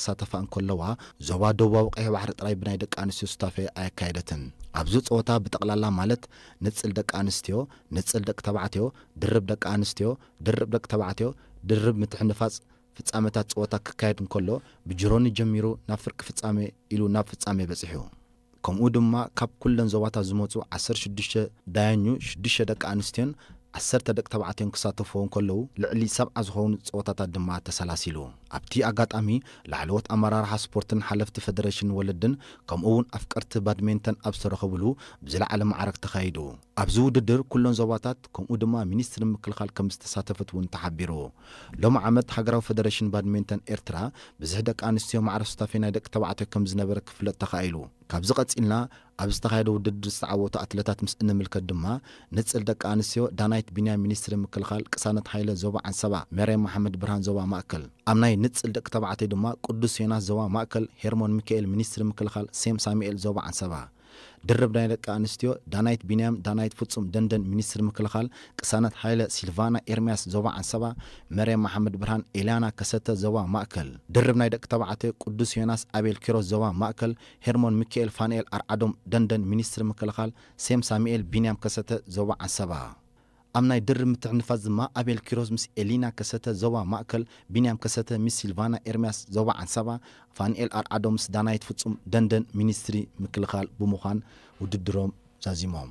ክሳተፋ እንከለዋ፣ ዞባ ደቡባዊ ቀይሕ ባሕሪ ጥራይ ብናይ ደቂ ኣንስትዮ ሱታፌ ኣየካየደትን። ኣብዚ ጸወታ ብጠቕላላ ማለት ንጽል ደቂ ኣንስትዮ፣ ንጽል ደቂ ተባዕትዮ፣ ድርብ ደቂ ኣንስትዮ፣ ድርብ ደቂ ተባዕትዮ፣ ድርብ ምትሕንፋጽ ፍጻመታት ጸወታ ክካየድ እንከሎ፣ ብጅሮኒ ጀሚሩ ናብ ፍርቂ ፍጻሜ ኢሉ ናብ ፍጻሜ በጺሑ። ከምኡ ድማ ካብ ኩለን ዞባታት ዝመጹ ዓሰርተ ሽዱሽተ ዳያኙ፣ ሽዱሽተ ደቂ ኣንስትዮን ዓሰርተ ደቂ ተባዕትዮን ክሳተፍዎ እንከለዉ፣ ልዕሊ ሰብዓ ዝኾኑ ጸወታታት ድማ ተሰላሲሉ። ኣብቲ ኣጋጣሚ፣ ላዕለዎት ኣመራርሓ ስፖርትን ሓለፍቲ ፈደረሽን ወለድን፣ ከምኡ እውን ኣፍቀርቲ ባድሜንተን ኣብ ዝተረኸብሉ ብዝለዓለ ማዕረግ ተኻይዱ። ኣብዚ ውድድር ኩለን ዞባታት፣ ከምኡ ድማ ሚኒስትሪ ምክልኻል ከም ዝተሳተፈት እውን ተሓቢሩ። ሎሚ ዓመት ሃገራዊ ፈደረሽን ባድሜንተን ኤርትራ፣ ብዝሒ ደቂ ኣንስትዮ ማዕረ ሱታፌ ናይ ደቂ ተባዕትዮ ከም ዝነበረ ክፍለጥ ተኻኢሉ። ካብዚ ቀጺልና፣ ኣብ ዝተኻየደ ውድድር ዝተዓወቱ ኣትለታት ምስ እንምልከት ድማ፣ ንጽል ደቂ ኣንስትዮ ዳናይት ቢንያም ሚኒስትሪ ምክልኻል፣ ቅሳነት ሃይለ ዞባ ዓንሰባ፣ መርየም መሓመድ ብርሃን ዞባ ማእከል። ኣብ ናይ ንጽል ደቂ ተባዕትዮ ድማ ቅዱስ ዮናስ ዞባ ማእከል፣ ሄርሞን ሚካኤል ሚኒስትሪ ምክልኻል፣ ሴም ሳሙኤል ዞባ ዓንሰባ። ድርብ ናይ ደቂ ኣንስትዮ ዳናይት ቢንያም፣ ዳናይት ፍጹም ደንደን ሚኒስትሪ ምክልኻል፣ ቅሳነት ሃይለ ሲልቫና ኤርምያስ ዞባ ዓንሰባ፣ መርየም መሓመድ ብርሃን ኤልያና ከሰተ ዞባ ማእከል። ድርብ ናይ ደቂ ተባዕትዮ ቅዱስ ዮናስ ኣቤል ኪሮስ ዞባ ማእከል፣ ሄርሞን ሚካኤል ፋንኤል ኣርዓዶም ደንደን ሚኒስትሪ ምክልኻል፣ ሴም ሳሙኤል ቢንያም ከሰተ ዞባ ዓንሰባ። ኣብ ናይ ድርብ ምትሕንፋጽ ድማ ኣቤል ኪሮስ ምስ ኤሊና ከሰተ ዞባ ማእከል፣ ቢንያም ከሰተ ምስ ሲልቫና ኤርምያስ ዞባ ዓንሰባ፣ ፋንኤል ኣርዓዶም ምስ ዳናይት ፍጹም ደንደን ሚኒስትሪ ምክልኻል ብምዃን ውድድሮም ዛዚሞም።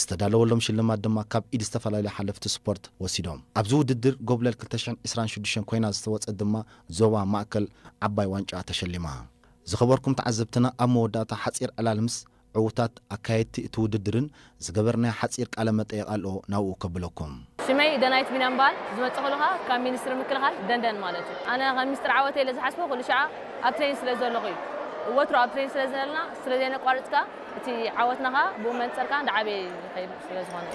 ዝተዳለወሎም ሽልማት ድማ ካብ ኢድ ዝተፈላለዩ ሓለፍቲ ስፖርት ወሲዶም። ኣብዚ ውድድር ጎብለል ክልተ ሽሕን ዕስራን ሽዱሽተን ኮይና ዝተወጸት ድማ ዞባ ማእከል ዓባይ ዋንጫ ተሸሊማ። ዝኸበርኩም ተዓዘብትና፣ ኣብ መወዳእታ ሓጺር ዕላል ምስ ዕዉታት ኣካየድቲ እቲ ውድድርን ዝገበርናዮ ሓጺር ቃለ መጠይቕ ኣሎ፣ ናብኡ ከብለኩም። ሽመይ ደናይት ቢንያም በሃል። ዝመጽእ ከለኻ ካብ ሚኒስትሪ ምክልኻል ደንደን ማለት እዩ። ኣነ ከም ሚስጥር ዓወተይ ኢለ ዝሓስቦ ኩሉ ሻዓ ኣብ ትሬን ስለ ዘለኹ እዩ። ወትሩ ኣብ ትሬን ስለ ዘለና፣ ስለ ዘየነቋርጽካ፣ እቲ ዓወትና ኸኣ ብኡ መንጸር ከኣ እንዳዓበየ ይኸይድ ስለ ዝኾነ።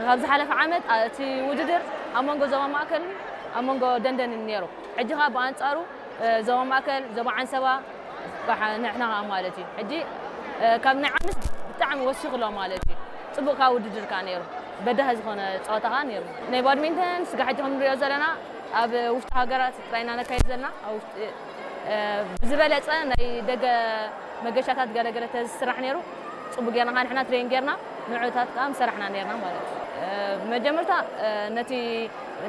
ካብ ዝሓለፈ ዓመት፣ ኣ፣ እቲ ውድድር ኣብ መንጎ ዞባ ማእከልን ኣብ መንጎ ደንደንን ነይሩ። ሕጂ ኸኣ ብኣንጻሩ፣ እ፣ ዞባ ማእከል፣ ዞባ ዓንሰባ፣ ባሕ-፣ ንሕና ኸኣ ማለት እዩ። ሕጂ፣ እ፣ ካብ ናይ ዓምስ ብጣዕሚ ወሲኹ ኣሎ ማለት እዩ። ጽቡቕ ከኣ ውድድር ከኣ ነይሩ። በዳሂ ዝኾነ ጸወታ ከኣ ነይሩ። ናይ ባድሚንተን ስጋዕ ሕጂ ከም ንሪኦ ዘለና ኣብ ውሽጢ ሃገራት ጥራይ ኢና ነካይድ ዘለና። ኣብ ውሽጢ፣ እ፣ ብዝበለጸ ናይ ደገ መገሻታት ገለገለ ተዝስራሕ ነይሩ፣ ጽቡቕ ጌርና ከኣ ንሕና ትሬን ጌርና ንዕታት ከኣ ምሰራሕና ነይርና ማለት እዩ። እ፣ መጀመርታ፣ እ፣ ነቲ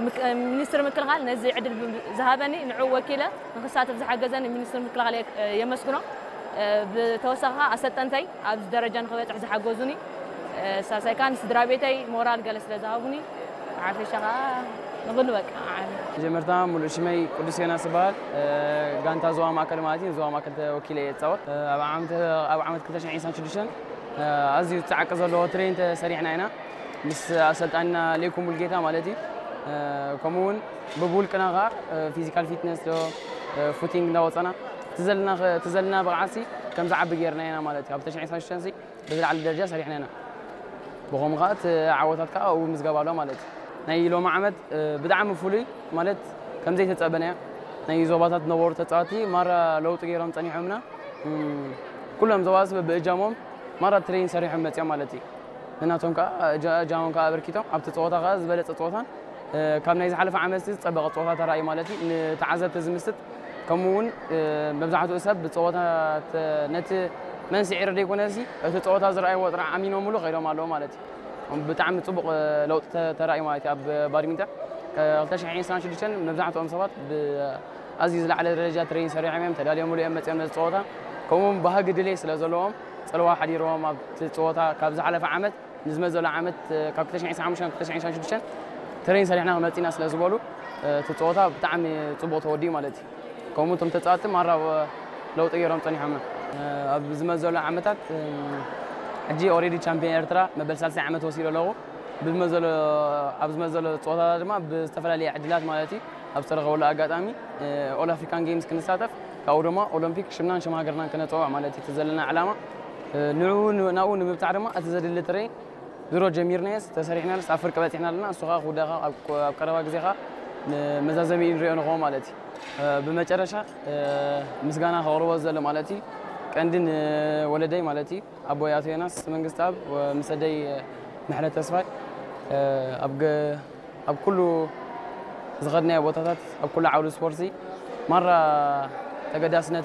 ምክ-፣ ሚኒስትሪ ምክልኻል ነዚ ዕድል ብ-፣ ዝሃበኒ ንዕኡ ወኪለ ንክሳተፍ ዝሓገዘኒ ሚኒስትሪ ምክልኻል የ-፣ የመስግኖ። እ፣ ብተወሳኺ ከኣ ኣሰልጠንተይ ኣብዚ ደረጃ ንክበጽሕ ዝሓገዙኒ፣ እ፣ ሳልሳይ ከኣ ንስድራ ቤተይ ሞራል ገለ ስለ ዝሃቡኒ፣ ሓፈሻ ከኣ ንኹሉ በቃ ዓቢ። መጀመርታ ሙሉእ ሽመይ ቅዱስ ዮናስ ይበሃል። እ፣ ጋንታ ዞባ ማእከል ማለት እዩ፣ ዞባ ማእከል ተወኪለ እየ ዝጻወት። እ፣ ኣብ ዓመት፣ ኣብ ዓመት ክልተ ሽሕን ዕስራን ሽዱሽተን፣ እ፣ ኣዝዩ ጻዕቂ ዘለዎ ትሬን ተሰሪሕና ኢና። ምስ ኣሰልጣንና ሌኩ ሙልጌታ ማለት እዩ። እ፣ ከምኡ እውን ብብውልቅና ከኣ፣ እ፣ ፊዚካል ፊትነስ ዶ፣ እ፣ ፉቲንግ እንዳወጸና፣ እቲ ዘለና ኸ-፣ እቲ ዘለና ብቕዓትሲ ከም ዝዓቢ ጌርና ኢና ማለት እዩ። ኣብ ክልተ ሽሕን ዕስራን ሽዱሽተን ሲ ብዝለዓለ ደረጃ ሰሪሕና ኢና። ብኸምኡ ከኣ እቲ ዓወታት ከኣ ኣብኡ ምዝጋብ ኣሎ ማለት እዩ። ናይ ሎሚ ዓመት፣ እ፣ ብጣዕሚ ፍሉይ ማለት ከም ዘይተጸበናዮ፣ ናይ ዞባታት ዝነበሩ ተጻወትቲ ማራ ለውጢ ገይሮም ጸኒሖምና። እም፣ ኩሎም ዞባታት በብእጃሞም ማራ ትሬን ሰሪሖም መጺኦም ማለት እዩ። ንናቶም ከኣ እጃ-፣ እጃሞም ከኣ ኣበርኪቶም ኣብቲ ጸወታ ከኣ ዝበለጸ ጸወታን፣ እ፣ ካብ ናይ ዝሓለፈ ዓመት ዝጸበቐ ጸወታ ተራእዩ ማለት እዩ። ንተዓዘብቲ ዝምስጥ፣ ከምኡ እውን፣ እ፣ መብዛሕትኡ ሰብ ብጸወታ ተ-፣ ነቲ መን ስዒሩ ዘይኮነሲ፣ እቲ ጸወታ ዝረኣይዎ ጥራሕ ኣሚኖምሉ ከይዶም ኣለዉ ማለት እዩ። ብጣዕሚ ጽቡቕ፣ እ፣ ለውጢ ተ-፣ ተራእዩ ማለት እዩ። ኣብ ባድሚንተን፣ እ፣ ክልተ ሽሕን ዕስራን ሽዱሽተን መብዛሕትኦም ሰባት ብ-፣ ኣዝዩ ዝለዓለ ደረጃ ትሬን ሰሪሖም እዮም፣ ተዳልዮምሉ እዮም መጺኦም ነዚ ጸወታ። ከምኡ እውን ባህጊ ድሌት ስለ ዘለዎም፣ ጽልዋ ሓዲርዎም ኣብቲ ጸወታ ካብ ዝሓለፈ ዓመት ንዝመጽእ ዘሎ ዓመት፣ እ፣ ካብ ክልተ ሽሕን ዕስራን ሓሙሽተን ክልተ ሽሕን ዕስራን ሽዱሽተን ትሬን ሰሪሕና ክመጽእ ኢና ስለ ዝበሉ፣ እ፣ እቲ ጸወታ ብጣዕሚ ጽቡቕ ተወዲኡ ማለት እዩ። ከምኡ እቶም ተጻወትቲ ማራ ለውጢ ገይሮም ጸኒሖምና። እ፣ ኣብ ዝመጽእ ዘሎ ዓመታት፣ እ፣ ሕጂ ኦሬዲ ቻምፒዮን ኤርትራ መበል ሳልሳይ ዓመት ወሲደ ኣለኹ። ብዝመጽእ ዘሎ፣ ኣብ ዝመጽእ ዘሎ ጸወታታት ድማ ብዝተፈላለየ ዕድላት ማለት እዩ ኣብ ዝተረኸበሉ ኣጋጣሚ፣ እ፣ ኦል ኣፍሪካን ጌምስ ክንሳተፍ፣ ካብኡ ድማ ኦሎምፒክ ሽምናን ሽም ሃገርናን ክነጸውዕ ማለት እዩ እቲ ዘለና ዕላማ። እ፣ ንዕኡ ን-፣ ናብኡ ንምብጻሕ ድማ እቲ ዘድሊ ትሬን ድሮ ጀሚርናዮስ ተሰሪሕናሉስ ኣብ ፍርቂ በጺሕና ኣለና። እሱ ኸኣ ክውዳእ ኸኣ ኣብ፣ ኣብ ቀረባ ግዜ ኸኣ ንመዛዘሚኡ ንሪኦ ንኸውን ማለት እዩ። እ፣ ብመጨረሻ፣ እ፣ ምስጋና ከቕርቦ ዝደሊ ማለት እዩ ቀንዲ ንወለደይ ማለት እዩ ኣቦይ ኣቶ ዮናስ መንግስትኣብ ወ-፣ ምስ ኣደይ ምሕረት ተስፋይ፣ እ፣ ኣብ ገ-፣ ኣብ ኩሉ ዝኸድናዮ ቦታታት፣ ኣብ ኩሉ ዓውዲ ስፖርቲ ማራ ተገዳስነት